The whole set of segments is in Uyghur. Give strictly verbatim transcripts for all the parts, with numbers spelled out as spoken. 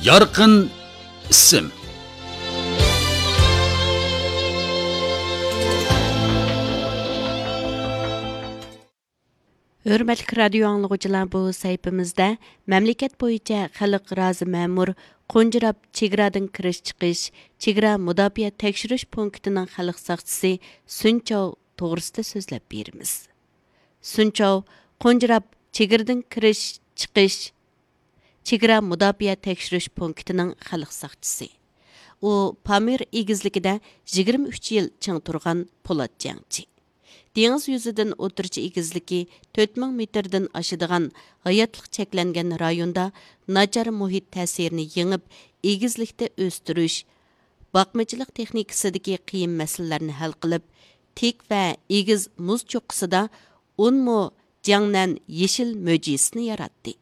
يارقىن ئىسىم. ھۆرمەتلىك رادىيو ئاڭلىغۇچىلار، بۇ سەھىپىمىزدە مەملىكەت بويىچە خەلق رازى مەمۇر قونجىراپ چېگرادىن كىرىش چىقىش چېگرا مۇداپىئە تەكشۈرۈش پونكىتىنىڭ خەلق ساقچىسى سۈن چاۋ توغرىسىدا سۆزلەپ بېرىمىز. سۈن چاۋ قونجىراپ چېگرىدىن كىرىش چىقىش چېگرا مۇداپىئە تەكشۈرۈش پونكىتىنىڭ خەلق ساقچىسى. ئۇ پامىر ئېگىزلىكىدە يىگىرمە ئۈچ يىل چىڭ تۇرغان پولات جەڭچى. دېڭىز يۈزىدىن ئوتتۇرىچە ئېگىزلىكى تۆت مىڭ مېتىردىن ئاشىدىغان ھاياتلىق چەكلەنگەن رايوندا ناچار مۇھىت تەسىرىنى يېڭىپ، ئېگىزلىكتە ئۆستۈرۈش، باقمىچىلىق تېخنىكىسىدىكى قىيىن مەسىلىلەرنى ھەل قىلىپ، تىك ۋە ئېگىز مۇز چوققىسىدا ئون مو جياڭنەن يېشىل مۆجىزىسىنى ياراتتى.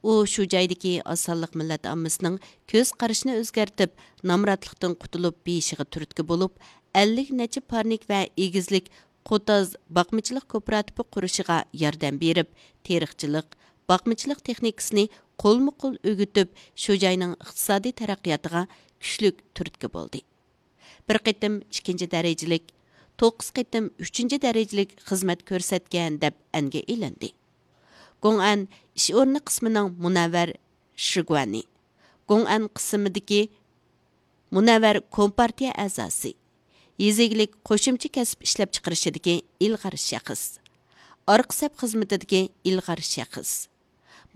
ئۇ شۇ جايدىكى ئاز سانلىق مىللەت ئاممىسىنىڭ كۆز قارىشىنى ئۆزگەرتىپ، نامراتلىقتىن قۇتۇلۇپ بېيىشىغا تۈرتكە بولۇپ، ئەللىك نەچچە پارنىك ۋە ئېگىزلىك قوتاز باقمىچىلىق كوپىراتىپى قۇرۇشىغا ياردەم بېرىپ، تېرىقچىلىق، باقمىچىلىق تېخنىكىسىنى قولمۇ قول ئۆگىتىپ، شۇ جاينىڭ ئىقتىسادىي تەرەققىياتىغا كۈچلۈك تۈرتكە بولدى. بىر قېتىم ئىككىنچى دەرىجىلىك، توققۇز قېتىم ئۈچىنچى دەرىجىلىك خىزمەت كۆرسەتكەن دەپ ئەنگە ئېلىندى. گوڭئەن ئىش ئورنى قىسمىنىڭ مۇنەۋۋەر شىگۇەنى، گوڭئەن قىسمىدىكى مۇنەۋۋەر كومپارتىيە ئەزاسى، يېزا ئىگىلىك قوشۇمچە كەسىپ ئىشلەپچىقىرىشىدىكى ئىلغار شەخس، ئارقا سەپ خىزمىتىدىكى ئىلغار شەخس،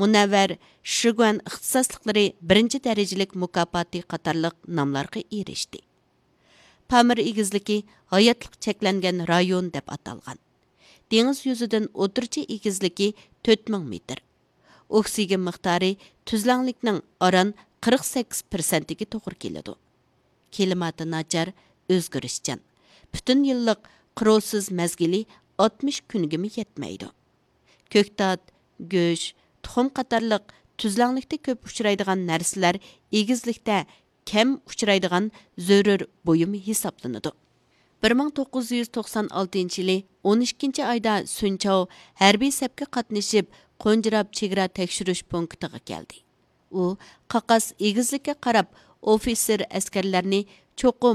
مۇنەۋۋەر شىگۇەن ئىختىساسلىقلىرى بىرىنچى دەرىجىلىك مۇكاپاتى قاتارلىق ناملارغا ئېرىشتى. پامىر ئېگىزلىكى ھاياتلىق چەكلەنگەن رايون دەپ ئاتالغان. دېڭىز يۈزىدىن ئوتتۇرىچە ئېگىزلىكى تۆت مىڭ مېتىر. ئوكسىگېن مىقدارى تۈزلەڭلىكنىڭ ئاران قىرىق سەككىز پىرسەنتىگە توغرا كېلىدۇ. كىلىماتى ناچار، ئۆزگىرىشچان. پۈتۈن يىللىق قىروسىز مەزگىلى ئاتمىش كۈنگىمۇ يەتمەيدۇ. كۆكتات، گۆش، تۇخۇم قاتارلىق تۈزلەڭلىكتە كۆپ ئۇچرايدىغان نەرسىلەر ئېگىزلىكتە كەم ئۇچرايدىغان زۆرۈر بۇيۇم ھېسابلىنىدۇ. بىر مىڭ توققۇز يۈز توقسان ئالتىنچى يىلى ئون ئىككىنچى ئايدا سۈن چاۋ ھەربىي سەپكە قاتنىشىپ، قونجىراپ چېگرا تەكشۈرۈش پونكىتىغا كەلدى. ئۇ قاقاس ئېگىزلىككە قاراپ ئوفىتسېر ئەسكەرلەرنى چوقۇم